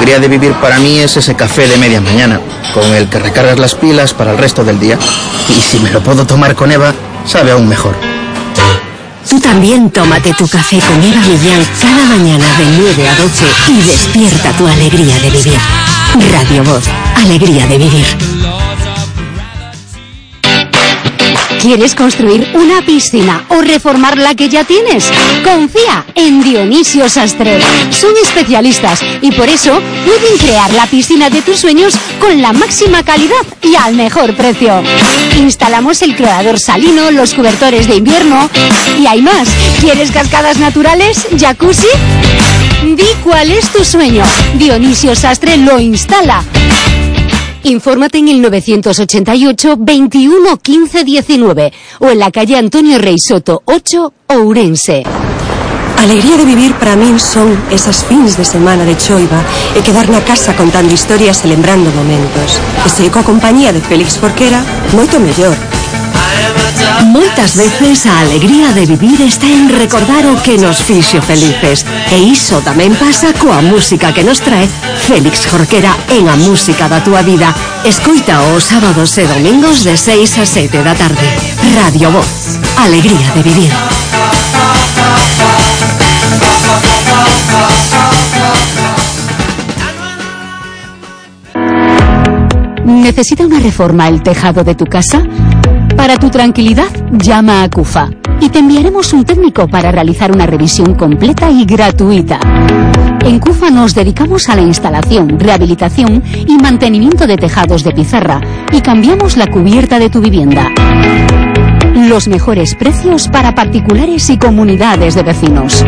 alegría de vivir para mí es ese café de media mañana, con el que recargas las pilas para el resto del día. Y si me lo puedo tomar con Eva, sabe aún mejor. Tú también tómate tu café con Eva Millán cada mañana de 9 a 12 y despierta tu alegría de vivir. Radio Voz, alegría de vivir. ¿Quieres construir una piscina o reformar la que ya tienes? Confía en Dionisio Sastre. Son especialistas y por eso pueden crear la piscina de tus sueños con la máxima calidad y al mejor precio. Instalamos el clorador salino, los cobertores de invierno y hay más. ¿Quieres cascadas naturales? ¿Jacuzzi? Di cuál es tu sueño. Dionisio Sastre lo instala. Infórmate en el 988 21 15 19 o en la calle Antonio Rey Soto 8, Ourense. Alegría de vivir para min son esas fins de semana de choiva e quedar na casa contando historias e lembrando momentos. E se coa compañía de Félix Jorquera, moito mellor. Moitas veces a alegría de vivir está en recordar o que nos fixo felices. E iso tamén pasa coa música que nos trae Félix Jorquera en A Música da Túa Vida. Escoita os sábados e domingos de 6 a 7 da tarde. Radio Voz, alegría de vivir. ¿Necesita una reforma el tejado de tu casa? Para tu tranquilidad, llama a CUFA y te enviaremos un técnico para realizar una revisión completa y gratuita. En CUFA nos dedicamos a la instalación, rehabilitación y mantenimiento de tejados de pizarra y cambiamos la cubierta de tu vivienda. Los mejores precios para particulares y comunidades de vecinos.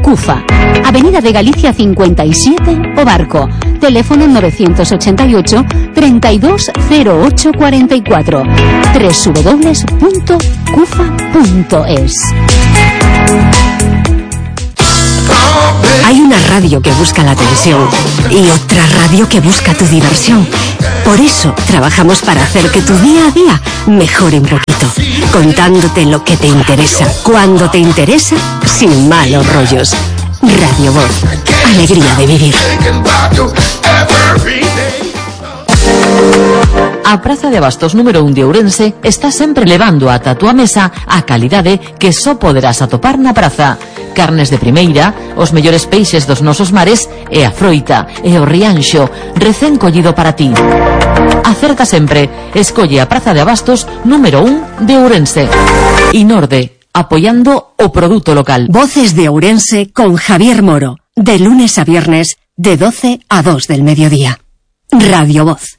CUFA, Avenida de Galicia 57, O Barco, teléfono 988 320844, www.cufa.es. Hay una radio que busca la atención y otra radio que busca tu diversión. Por eso trabajamos para hacer que tu día a día mejore un poquito, contándote lo que te interesa, cuando te interesa, sin malos rollos. Radio Voz, alegría de vivir. A Praza de Abastos número 1 de Ourense está sempre levando ata a túa mesa a calidade que só poderás atopar na praza. Carnes de primeira, os mellores peixes dos nosos mares e a froita e o rianxo recén collido para ti. Acerta sempre, escolle a Praza de Abastos número 1 de Ourense. Inorde, apoyando o produto local. Voces de Ourense con Javier Moro, de lunes a viernes, de 12 a 2 del mediodía. Radio Voz.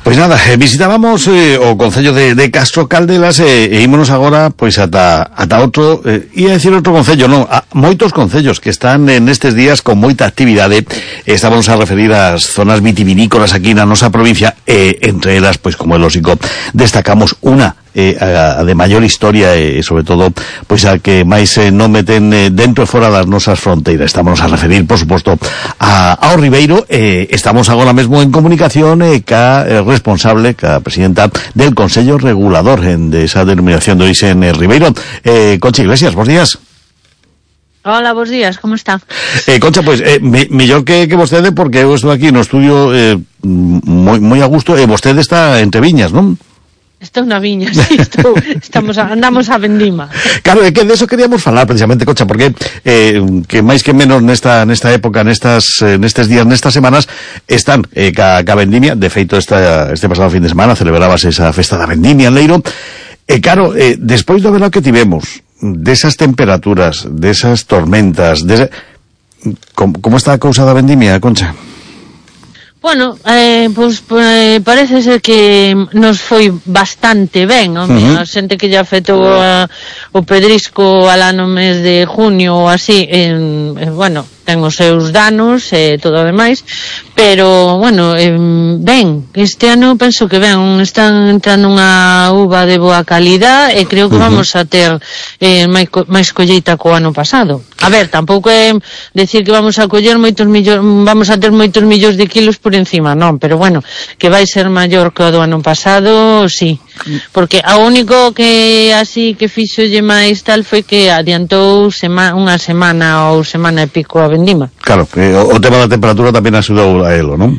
Pois nada, visitábamos o Concello de Castro Caldelas e ímonos agora pois ata outro, ia decir outro concello, non, a moitos concellos que están nestes días con moita actividade. Estábamos a referir ás zonas vitivinícolas aquí na nosa provincia e entre elas, pois como é lógico, destacamos unha a de maior historia e sobre todo pois a que máis non meten dentro e fora das nosas fronteiras. Estamos a referir, por suposto, ao Ribeiro. Estamos agora mesmo en comunicación ca responsable, ca presidenta del Consello Regulador de esa denominación de orixe en Ribeiro, Concha Iglesias. Bos días. Hola, bos días, como está? Concha, pois, mellor que vostede, porque eu estou aquí no estudio moi a gusto, e vostede está entre viñas, non? Estou na viña, sí, andamos a vendima. Claro, é que de eso queríamos falar precisamente, Concha, porque que máis que menos nesta época, nestes días, nestas semanas, están ca vendimia. De feito, este pasado fin de semana celebrábase esa festa da vendimia en Leiro. Claro, despois do verano que tivemos, desas temperaturas, desas tormentas, como está a cousa da vendimia, Concha? Bueno, parece ser que nos foi bastante ben, a xente que lle afectou o pedrisco alá no mes de junio ou así, bueno, ten os seus danos e todo o demais, pero, bueno, ben, este ano penso que ben, están entrando unha uva de boa calidad e creo que vamos a ter máis colleita co ano pasado. A ver, tampouco é decir que vamos a coller vamos a ter moitos millóns de kilos por encima, non, pero bueno, que vai ser maior que o do ano pasado, sí. porque a único que así que fixolle máis tal foi que adiantou unha semana ou semana e pico a vendima. Claro, o tema da temperatura tamén axudou a elo, non?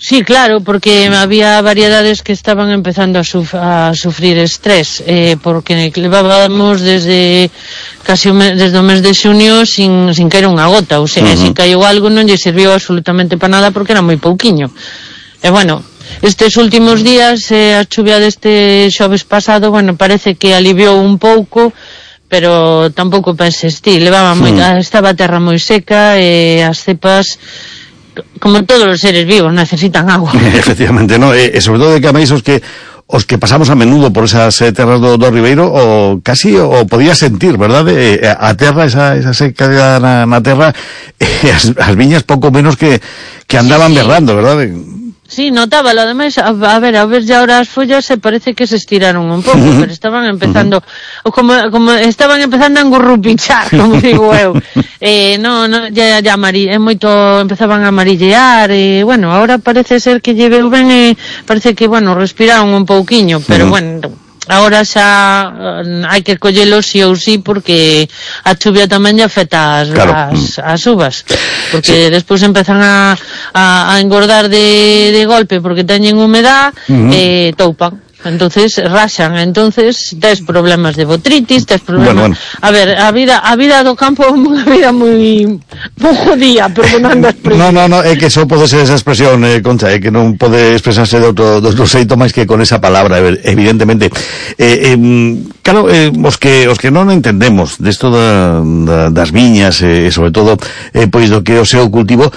Sí, claro, porque había variedades que estaban empezando a sufrir estrés, porque levábamos desde desde o mes de xunio sin caer unha gota, ou sea, se caiu algo non lle serviu absolutamente para nada porque era moi pouquiño. E bueno, estes últimos días, a chuvia deste xoves pasado, bueno, parece que aliviou un pouco, pero tampouco penses ti, estaba a terra moi seca e as cepas, como todos os seres vivos, necesitan agua. Efectivamente, ¿no? Sobre todo de que amáis os que pasamos a menudo por esas terras do Ribeiro, o casi o podía sentir, verdad? A terra, esa seca na terra, as viñas pouco menos que andaban berrando, verdad? Sí, notábalo, ademais, a ver ya ahora as follas se parece que se estiraron un pouco, pero estaban empezando, como estaban empezando a engurrupichar, como digo eu. Ya empezaban a amarillear, bueno, ahora parece ser que lleveu ben, parece que, bueno, respiraron un pouquiño, pero bueno, agora xa hai que collelo sí ou sí, porque a chuvia tamén lle afecta as uvas, porque despois empezan a engordar de golpe porque teñen humedad, toupan. Entonces raxan, entonces tes problemas de botritis, tes problemas... Bueno. A ver, a vida do campo é unha vida moi jodida, perdonando a expresión. No, é que só pode ser esa expresión, Concha, é que non pode expresarse de outro xeito máis que con esa palabra, evidentemente. Claro, os que non entendemos desto das viñas, e sobre todo, pois do que o seu cultivo,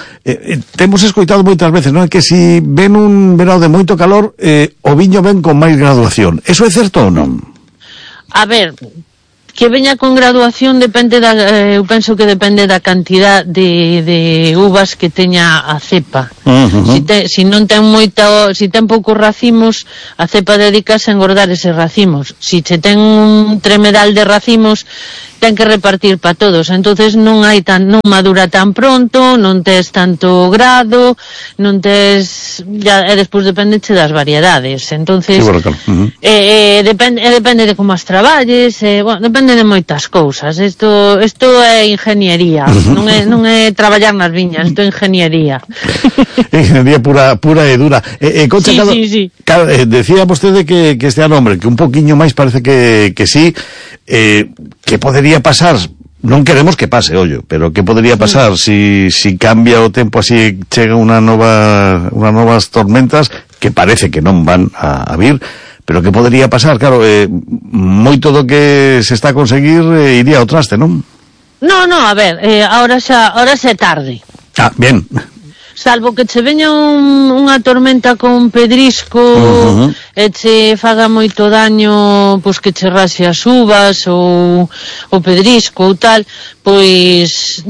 temos escoitado moitas veces, non? Que si ven un verao de moito calor, o viño ven con máis graduación. Eso é certo ou non? A ver, que veña con graduación depende eu penso que depende da cantidad de uvas que teña a cepa. Si non ten si ten poucos racimos, a cepa dedicase a engordar eses racimos. Si se ten un tremedal de racimos, ten que repartir para todos, entonces non madura tan pronto, non tes tanto grado, non tes e despois dependeche das variedades, entonces depende de como as traballes, bueno, depende de moitas cousas. Isto é ingeniería, non é traballar nas viñas, isto é ingeniería. Ingeniería pura e dura. Concha, sí. Claro, decía vostede que este ano, hombre, que un poquiño máis parece que sí, que podería pasar, non queremos que pase, ollo, pero que podería pasar si cambia o tempo, así chega unas novas tormentas, que parece que non van a vir, pero que podería pasar, claro, moito do que se está a conseguir iría ao traste, non? No, a ver, ahora xa é tarde. Ah, bien. Salvo que che veña unha tormenta con pedrisco e che faga moito daño, pois que che raxe as uvas ou o pedrisco ou tal, pois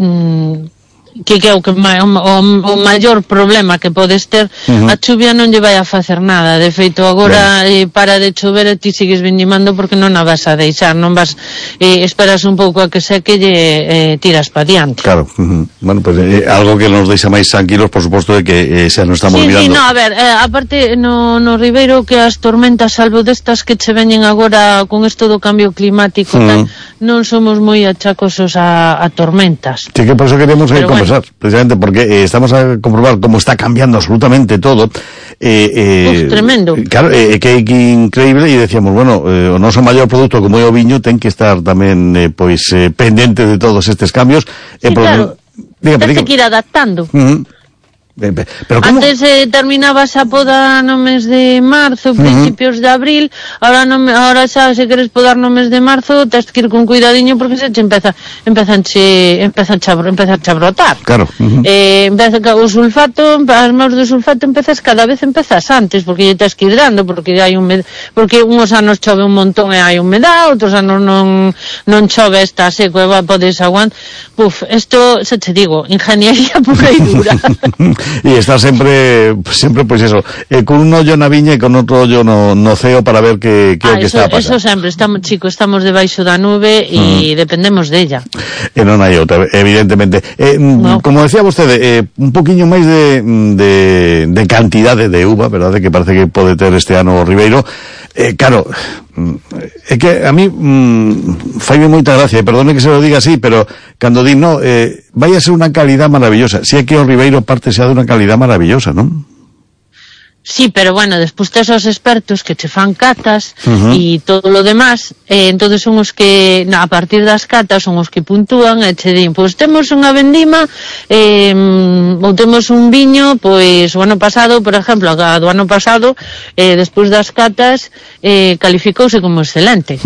que é o maior problema que podes ter. A chuvia non lle vai a facer nada, de feito agora para de chover e ti sigues vendimando porque non a vas a deixar, non vas esperas un pouco a que seque e tiras pa diante. Claro, bueno, pues algo que nos deixa máis tranquilos, por suposto, de que xa non estamos mirando. Sí, no, a ver, aparte no Ribeiro, que as tormentas, salvo destas que che veñen agora con isto do cambio climático, tal, non somos moi achacosos a tormentas. Sí, que por eso queremos conversar, precisamente porque estamos a comprobar como está cambiando absolutamente todo. Tremendo. Claro, que é increíble, e decíamos, bueno, o noso maior produto como é o viño ten que estar tamén pendente de todos estes cambios. Sí, claro, ten que ir adaptando. Pero ¿cómo? Antes terminabas a poda no mes de marzo, principios de abril, ahora xa se queres podar no mes de marzo, tens que ir con cuidadiño porque se che empeza a brotar. Claro. Empeza o sulfato, as maus de sulfato cada vez empezas antes, porque lle tens que ir dando, porque hai porque uns anos chove un montón e hai humedad, outros anos non chove, está seco e podes aguantar. Isto, xa te digo, ingeniería pura e dura. E está sempre pois eso, con un ollo na viña e con outro ollo no ceo para ver que o que está a pasar. Eso sempre, estamos debaixo da nube e dependemos della. E non hai outra, evidentemente. No. Como decía vostede, un poquinho máis de cantidade de uva, verdade, que parece que pode ter este ano o Ribeiro. Claro, é que a mí faime moita gracia, perdone que se lo diga así, pero cando di, no, vai a ser unha calidad maravillosa. Si é que o Ribeiro parte xa de unha calidad maravillosa, non? Sí, pero bueno, despois tes os expertos que che fan catas e todo lo demás, entonces son os que a partir das catas son os que puntúan e che din, pois temos unha vendima ou temos un viño, pois o ano pasado, por exemplo, do ano pasado, despois das catas calificouse como excelente.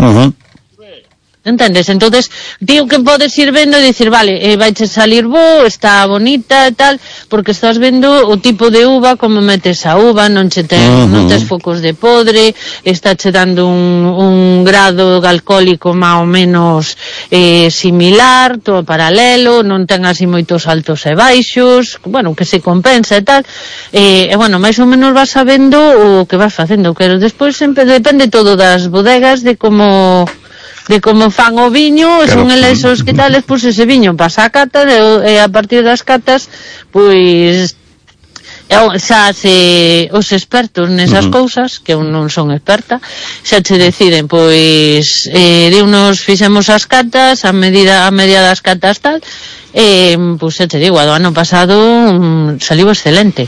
Entendes? Entonces, digo que podes ir vendo e dicir, vale, vaiche salir bo, está bonita e tal, porque estás vendo o tipo de uva, como metes a uva, non tes focos de podre, está che dando un grado alcohólico máis ou menos similar, todo paralelo, non ten así moitos altos e baixos, bueno, que se compensa e tal, e bueno, máis ou menos vas sabendo o que vas facendo, pero despois sempre depende todo das bodegas, de como fan o viño, claro. Son eles os que tales, pois ese viño pasa a cata e a partir das catas pois xa os expertos nesas cousas, que eu non son experta, xa che deciden, pois de unos fixemos as catas, a media das catas tal, pois xa te digo, do ano pasado saliu excelente.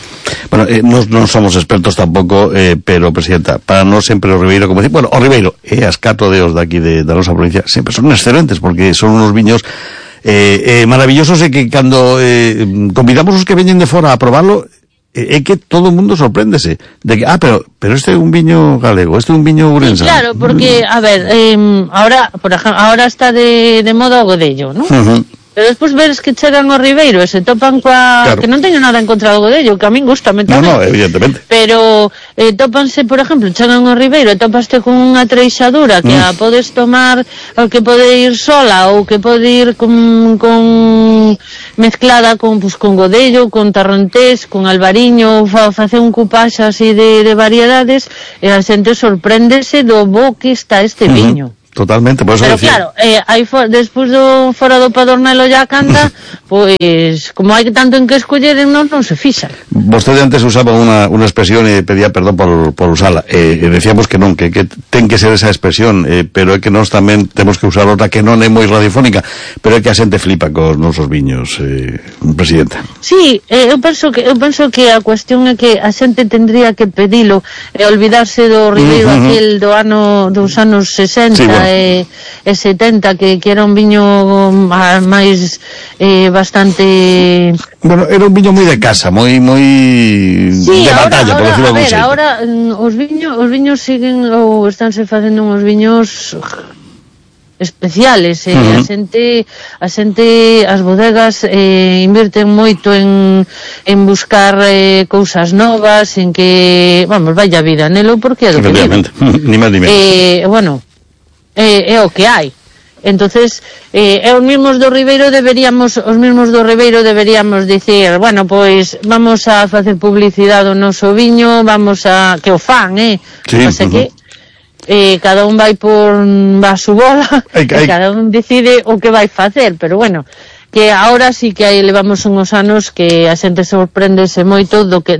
Bueno, non somos expertos tampouco, pero, Presidenta, para nós sempre o Ribeiro, como decir, bueno, o Ribeiro e as 4 deos daqui da nosa provincia sempre son excelentes, porque son unos viños maravillosos, e que cando convidamos os que veñen de fora a probarlo, é que todo o mundo sorpréndese de que, pero este é un viño galego, este é un viño ourense. Sí, claro, porque, a ver, ahora, por ejemplo, ahora está de moda o godello, ¿no? Pero despois veres que chegan ao Ribeiro e se topan claro. Que non teño nada en contra do godello, que a min gustame tamén. No, evidentemente. Pero tópanse, por exemplo, chegan ao Ribeiro e topaste con unha treixadura que a podes tomar, ou que pode ir sola, ou que pode ir con mezclada con godello, con tarrontés, con albariño, facer un cupaxe así de variedades, e a xente sorpréndese do bo que está este viño. Totalmente, por eso pero decir. Claro, despois do fora do Padornelo ya canta, pois como hai tanto en que escoller, non se fixa. Vostede antes usaba unha expresión e pedía perdón por usala, decíamos que non, que ten que ser esa expresión, pero é que nós tamén temos que usar outra que non é moi radiofónica, pero é que a xente flipa cos nosos viños, Presidenta. Sí, eu penso que a cuestión é que a xente tendría que pedilo e olvidarse do Ribeiro aquel dos anos 60, sí, bueno. E 70, que era un viño máis bastante... Bueno, era un viño moi de casa, moi sí, de batalla, por decirlo así. Ahora os viños siguen, ou estánse facendo uns viños especiales, a xente, as bodegas invirten moito en buscar cousas novas, en que, vamos, vaya vida nelo, porque é do que vive. Ni máis ni menos. Bueno, é o que hai. Entonces, os mismos do Ribeiro deberíamos dicir, bueno, pois vamos a facer publicidade do noso viño, vamos a que o fan, sí, non sei que cada un vai por a su bola e cada un decide o que vai facer, pero bueno, que agora sí que levamos unhos anos que a xente sorpréndese moito